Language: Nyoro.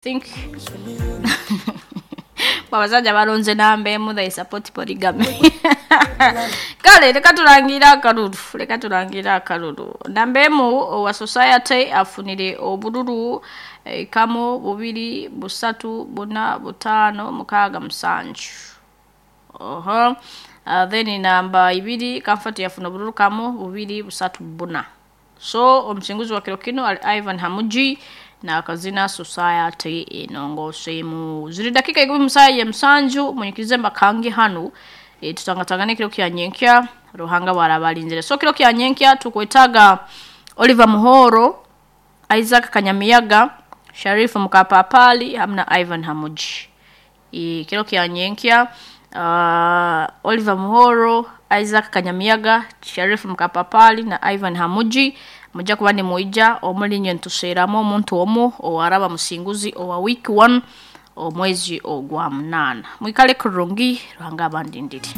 Think abasajja balonze namba emu, they support polygamy. Kale leka tulangire akalulu, leka tulangire akalulu. Namba emu owa society afunire obululu kamu, bubiri, busatu, buna, butaano, mukaaga, musanju. Oho. Then namba ibiri Comfort yafuna obululu kamu, bubiri, busatu, buna. So omusinguzi wa kiro kino ali Ivan Hamuji nakazina society enongoseemu. Ziri dakika 17 munyikirize mbakange hanu, tutangatangane kiro kya nyenkya Ruhanga bwarabalinzire. So kiro kya nyenkya tukwetaga Oliver Muhoro, Isaac Kanyamiyaga, Sharifu Mukapapali hamwe na Ivan Hamuji. Kiro kya nyenkya Oliver Muhoro, Isaac Kanyamiyaga, Sharifu Mukapapali na Ivan Hamuji mujja kuba nimwija omuli nywe nituseeramu omuntu omu owaraba musinguzi owa week 1 omwezi ogwa 8. Mwikale kurungi, Ruhanga abandindire.